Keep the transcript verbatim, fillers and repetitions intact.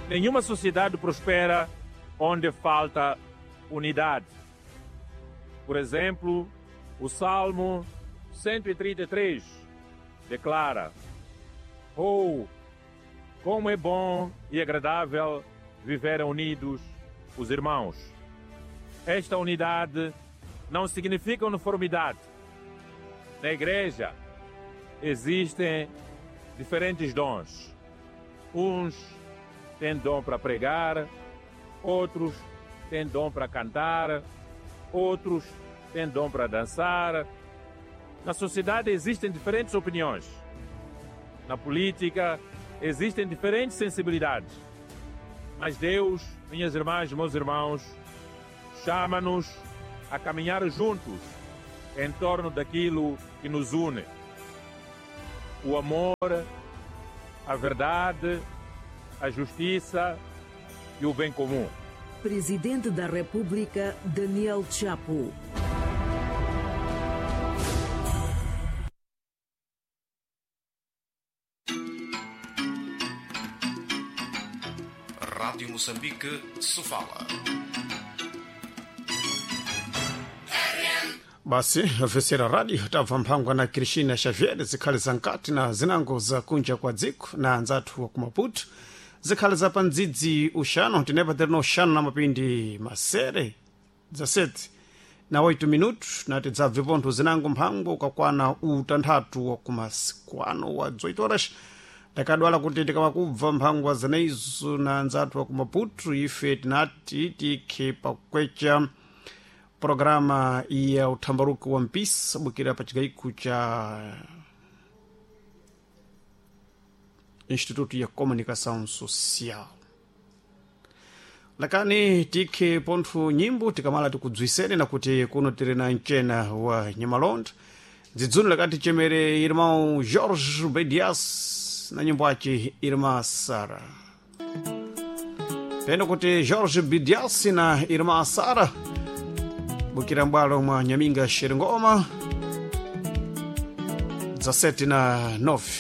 Nenhuma sociedade prospera onde falta unidade. Por exemplo, o Salmo cento e trinta e três declara: Oh, como é bom e agradável viverem unidos os irmãos. Esta unidade não significa uniformidade. Na igreja existem diferentes dons. Uns têm dom para pregar, outros têm dom para cantar, outros têm dom para dançar. Na sociedade existem diferentes opiniões. Na política existem diferentes sensibilidades. Mas Deus, minhas irmãs, meus irmãos, chama-nos a caminhar juntos em torno daquilo que nos une: o amor, a verdade, a justiça e o bem comum. Presidente da República, Daniel Chapo. Rádio Moçambique, Sofala. Basi ofesera radio tabva mphangwa na Cristina Xavier zikhali za nkati na zinango za kunja kwa dziko na anzathu wa ku Maputo zikhali za pandzidzi uxano tinepa terino uxano na mapindi masere dzasete na oito minutos na tidzabve pontho zinango mphango ukakwana utanthatu wa kumasikwano wa dzoito horas ndakadwala kuti tikamakubva mphangwa zeneizo na anzathu wa ku Maputo ife tinati tikhe pakwecha programa ya uthambaruki wa mpisa bukira pa cigaiko cha Instituto ya Comunicação Social. Lakani tikhe pontho nyimbo tikamala tikudzwisene na kuti kuno tiri na mcena wa Nyamalonda dzidzuni lakati chemere irmão Jorge Bedias na nyimbo ace Irmã Sara. Peno kuti Jorge Bedias na Irmã Sara bukira mbwalo mwa Nyaminga Xeringoma dezassete na nove.